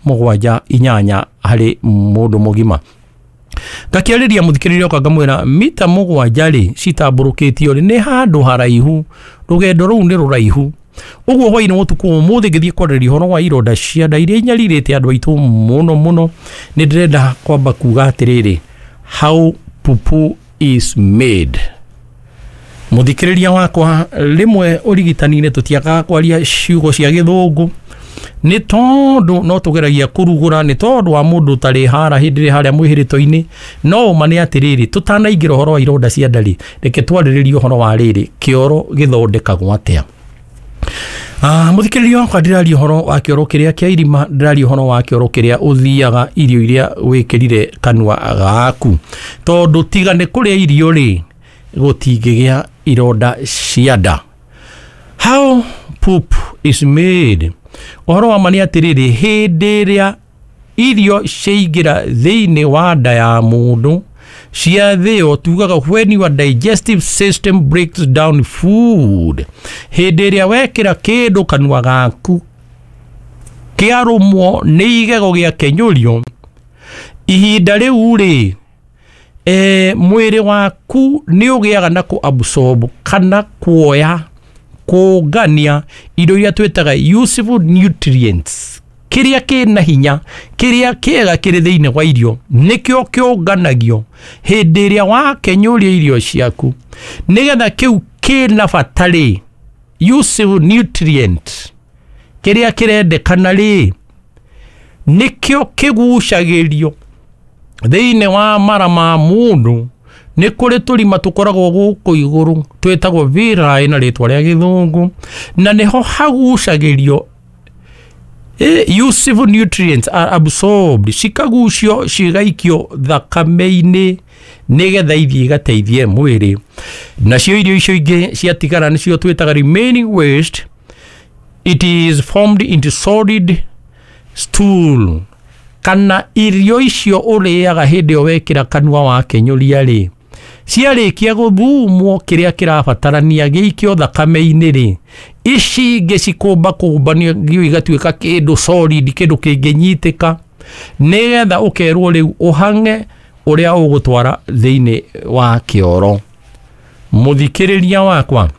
7 8 harĩ mũndũ mũgima. Ngakĩarĩria mũthikĩrĩria wakwa ngamwĩra mita 7 rĩ citambũrũkĩtio rĩ nĩ handũ haraihu, rũgendo rũu nĩ rũraihu. Ũguo hwainĩ wa ũtukũ ũmũthĩ ngĩthiĩ kwarĩrĩria ũhoro wa ironda cia nda iria inyarirĩte andũ aitũ mũno mũno, nĩ ndĩrenda kwamba kuga atĩrĩrĩ, how pupu is made. Mũthikĩrĩria wakwa, rĩmwe ũrigitani-inĩ tũtiagaga kwaria ciugo cia gĩthũngũ nĩ tondũ no tũgeragia kũrugũra, nĩ tondũ wa mũndũ ũtarĩ hara hĩndĩ ĩrĩa harĩa mwĩhĩrĩto-inĩ. No ũma nĩ atĩrĩrĩ, tũtanaingĩra ũhoro wa ironda cia nda rĩ, reke twarĩrĩrie ũhoro wa rĩrĩ, kĩoro gĩthondekagwo atĩa. Mũthikĩrĩria wakwa, ndĩraria ũhoro wa kĩoro kĩrĩa kĩa irima, ndĩraria ũhoro wa kĩoro kĩrĩa ũthiaga irio iria wĩkĩrire kanua gaku, tondũ tiga nĩ kũrĩa irio rĩ, gũtingĩgĩa ironda cia nda. How poop is made. Ũhoro wa ma nĩ atĩrĩrĩ, hĩndĩ ĩrĩa irio ciaingĩra thĩinĩ wa nda ya mũndũ ciathĩo, tugaga when your digestive system breaks down food, hĩndĩ ĩrĩa wekĩra kĩndũ kanua gaku kĩarũmwo nĩ igego gĩakenyũrio, ihinda rĩu rĩ, mwĩrĩ waku nĩ ũgĩaga na kũ absorb kana kuoya kũngania indo iria twĩtaga useful nutrients, kĩrĩa kĩna hinya, kĩrĩa kĩega kĩrĩ thĩinĩ wa irio nĩkĩo kĩũnganagio hĩndĩ ĩrĩa wakenyũria irio ciaku, nĩgetha kĩu kĩna bata rĩ, useful nutrient kĩrĩa kĩrendekana rĩ, nĩkĩo kĩgucagĩrio thĩinĩ wa mara ma mũndũ. Nĩ kũrĩ tũrima tũkoragwo gũkũ igũrũ twĩtagwo villi na rĩtwa rĩa gĩthũngũ, na nĩho hagucagĩrio useful nutrients are absorbed, cikagucio cigaikio thakame-inĩ nĩgetha ithiĩ igateithie mwĩrĩ. Nacio irio icio ingĩ ciatigara nĩcio twĩtaga remaining waste, it is formed into solid stool. Kana irio icio ũrĩaga hĩndĩ ĩyo wekĩra kanua wakenyũria rĩ, ciarĩkia gũthumwo kĩrĩa kĩrabatarania gĩikio thakame-inĩ rĩ, ici ingĩ cikũmbakũmbanio igatuĩka kĩndũ solid, kĩndũ kĩngĩnyitĩka, nĩgetha ũkerwo rĩu ũhang'e ũrĩa ũgũtwara thĩinĩ wa kĩoro. Mũthikĩrĩria wakwa,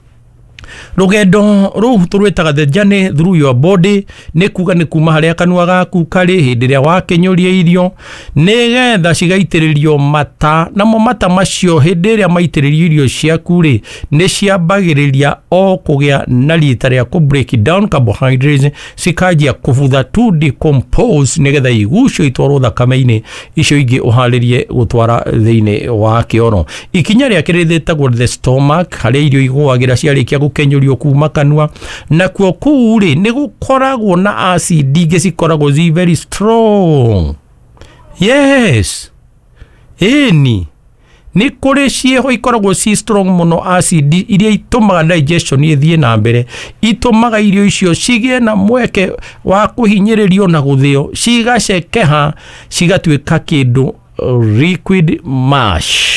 rũgendo rũu tũrwĩtaga the journey through your body, nĩ kuga nĩ kuma harĩa kanua gaku karĩ hĩndĩ ĩrĩa wakenyũria irio, nĩgetha cigaitĩrĩrio mata, namo mata macio hĩndĩ ĩrĩa maitĩrĩrio irio ciaku rĩ, nĩ ciambagĩrĩria o kũgĩa na rita rĩa kũ break down carbohydrates, cikanjia kũbutha to decompose, nĩgetha igucio itwarwo thakame-inĩ, icio ingĩ ũharĩrie gũtwara thĩinĩ wa kĩoro. Ikinya rĩa kerĩ rĩtagwo the stomach, harĩa irio igũagĩra ciarĩkia gũkenyũrio kuma kanua. Nakuo kũu rĩ, nĩ gũkoragwo na acid ingĩ cikoragwo zi very strong. Yes, ĩni nĩ kũrĩ ciĩho ikoragwo ci strong mũno, acid iria itũmaga digestion ĩthiĩ na mbere, itũmaga irio icio cigĩe na mweke wa kũhinyĩrĩrio na gũthĩo, cigacekeha cigatuĩka kĩndũ liquid mash.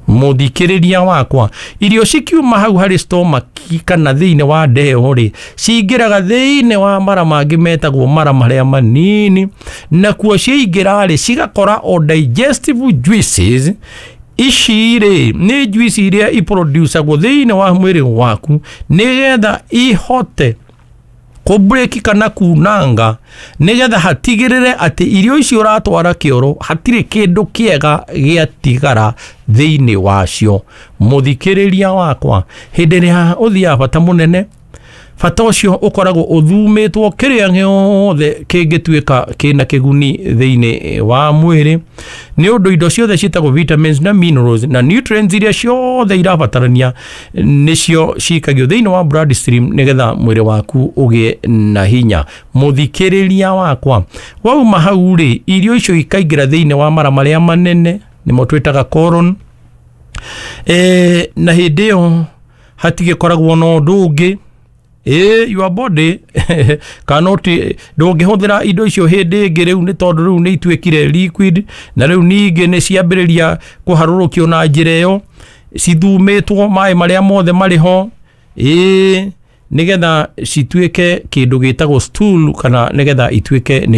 Mũthikĩrĩria wakwa, irio cikiuma hau harĩ stomach kana thĩinĩ wa ndeo rĩ, cingĩraga thĩinĩ wa mara mangĩ metagwo mara marĩa manini, nakuo ciaingĩra rĩ, cigakora o digestive juices. Ici rĩ nĩ juice iria iproducagwo thĩinĩ wa mwĩrĩ waku nĩgetha ihote kũbreki kana kunanga, nĩgetha hatigĩrĩre atĩ irio icio ũratwara kĩoro hatirĩ kĩndũ kĩega gĩatigara thĩinĩ wacio. Mũthikĩrĩria wakwa, hĩndĩ ĩrĩa ũthiaga bata mũnene, bata ũcio ũkoragwo ũthumĩtwo kĩrĩa gĩothe kĩngĩtuĩka kĩna kĩguni thĩinĩ wa mwĩrĩ, nĩ ũndũ indo ciothe ciĩtagwo vitamins na minerals na nutrients iria ciothe irabatarania nĩcio cikagio thĩinĩ wa blood stream nĩgetha mwĩrĩ waku ũgĩe na hinya. Mũthikĩrĩria wakwa, wauma hau rĩ, irio icio ikaingĩra thĩinĩ wa mara marĩa manene, nĩmo twĩtaga colon. Na hĩndĩ ĩyo hatigĩkoragwo na ũndũ ũngĩ. Your body cannot, ndũngĩhũthĩra indo icio hĩndĩ ĩngĩ rĩu, nĩ tondũ rĩu nĩ ituĩkire liquid, na rĩu ningĩ nĩ ciambĩrĩria kũharũrũkio na njĩra ĩyo cithumĩtwo maĩ marĩa mothe marĩ ho, nĩgetha cituĩke kĩndũ gĩtagwo stool, kana nĩgetha ituĩke nĩ